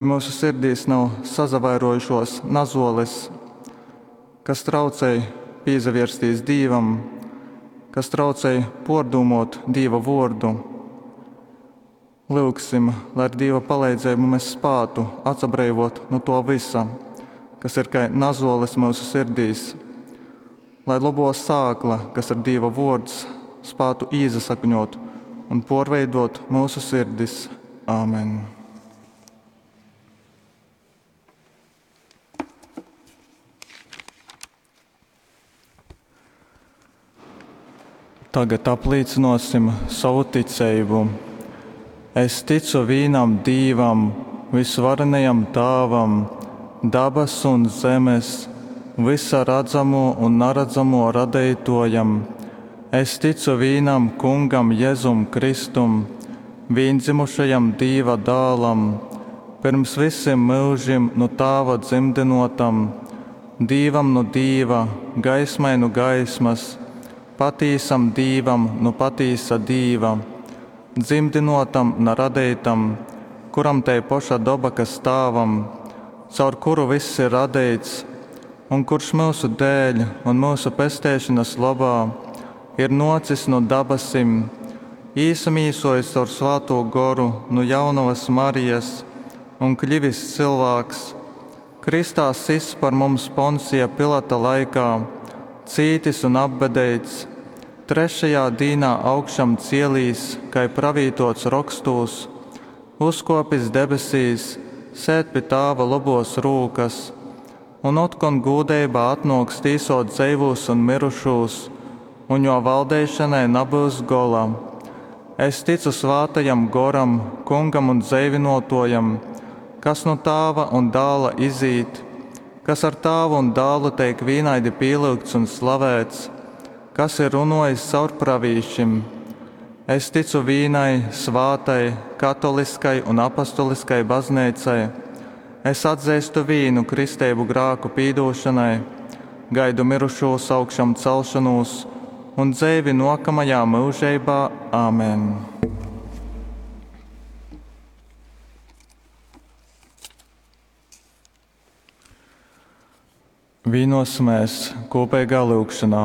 Myusu sirdīs nav sasavairuojušuos nazuoles, kas traucej pīsavierstīs Dīvam, kas traucej puordūmuot Dīva vuordu. Lyugsim, lai ar Dīva paleidzeibu mes spātu atsabreivuot nu tuo vysa, kas ir kai nazuoles myusu sirdīs, lai lobuo sākla, kas ir Dīva vuords, spātu īsasakņuot un puorveiduot myusu sirdis. Āmen. Tagad aplīcynuosim sovu ticeibu. Es ticu vīnam Dīvam, vysvarenajam Tāvam, dabasu un zemes, vysa radzamuo un naradzamuo Radeituojam. Es ticu vīnam Kungam Jezum Kristum, vīndzymušajam Dīva Dālam, pyrms vysim myužim nu Tāva dzymdynuotam, Dīvam nu Dīva, gaismai nu gaismas, patīsam Dīvam nu patīsa Dīva, dzymdynuotam, na radeitam, kuram tei poša doba, kas Tāvam, caur kuru vyss ir radeits, un kurš myusu dēļ un myusu pesteišonas lobā ir nuocis nu dabasim, īsamīsuojis caur Svātū Goru nu Jaunovas Marijas un kļivis cylvāks, krystā sists par mums Poncija Pilata laikā, cītis un apbedeits, trešajā dīnā augšam cielīs, kai pravītuots Rokstūs, uzkuopis debesīs, sēd pi Tāva lobuos rūkas, un otkon gūdeibā atnuoks tīsuot dzeivūs un myrušūs, un Juo valdeišonai nabyus gola. Es ticu Svātajam Goram, Kungam un Dzeivynuotuojam, kas nu Tāva un Dāla izīt, kas ar Tāvu un Dālu teik vīnaidi pīlyugts un slavēts, kas ir runuojis caur pravīšim. Es ticu vīnai svātai, katoliskai un apostoliskai bazneicai. Es atzeistu vīnu kristeibu grāku pīdūšonai, gaidu myrušūs augšamcelšonūs un dzeivi nuokamajā myužeibā. Āmen! Vīnosimies kūpeigā lyugšanā.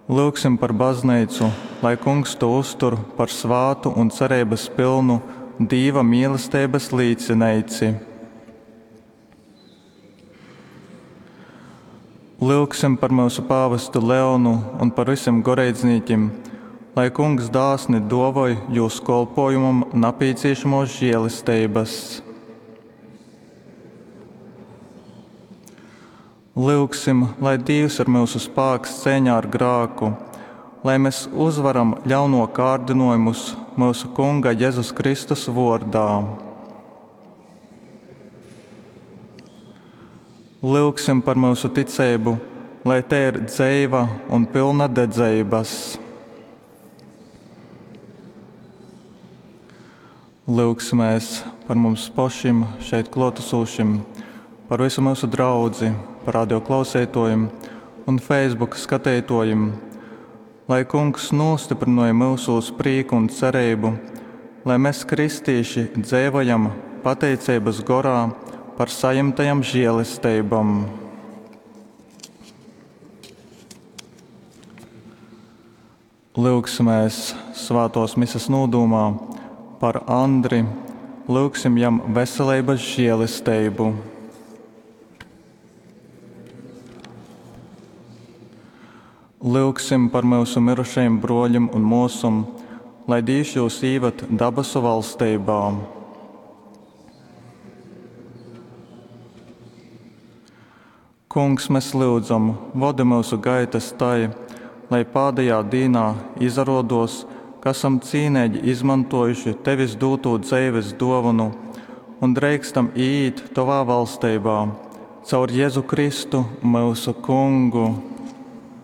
Lyugsim par bazneicu, lai Kungs tū uztur par svātu un cereibas pylnu Dīva mīlesteibas līcineici. Lyugsim par myusu pāvestu Leonu un par vysim goreidznīkim, lai Kungs dāsni duovoj jūs kolpojumam napīcīšamuos žielesteibas. Lyugsim, lai Dīvs ir myusu spāks ceiņā ar grāku, lai mēs uzvaram ļauno kārdinojumus myusu Kunga Jezus Kristus vuordā. Lyugsim par myusu ticeibu, lai tei ir dzeiva un pylna dedzeibas. Lyugsimēs par mums pašim šeit kluotasūšim, par visu myusu draudzi, par radio klauseituojim un Facebook skateituojim, lai Kungs nūstyprynoj myusūs prīku un cereibu, lai mes kristīši dzeivojam pateiceibas gorā par sajimtajam žielesteibom. Lyugsimēs svātōs mises nūdūmā par Andri, lyugsim jam veseleibas žielesteibu. Lyugsim par myusu myrušajim bruoļim un muosom, lai Dīvs jūs īvad dabasu valsteibā. Kungs, mēs lyudzam, vodi myusu gaitas tai, lai pādejā dīnā izaruodos, ka esam cīneigi izmantojuši Tevis dūtū dzeives duovonu un dreikstam īīt Tovā valsteibā. Caur Jezu Kristu, myusu Kungu.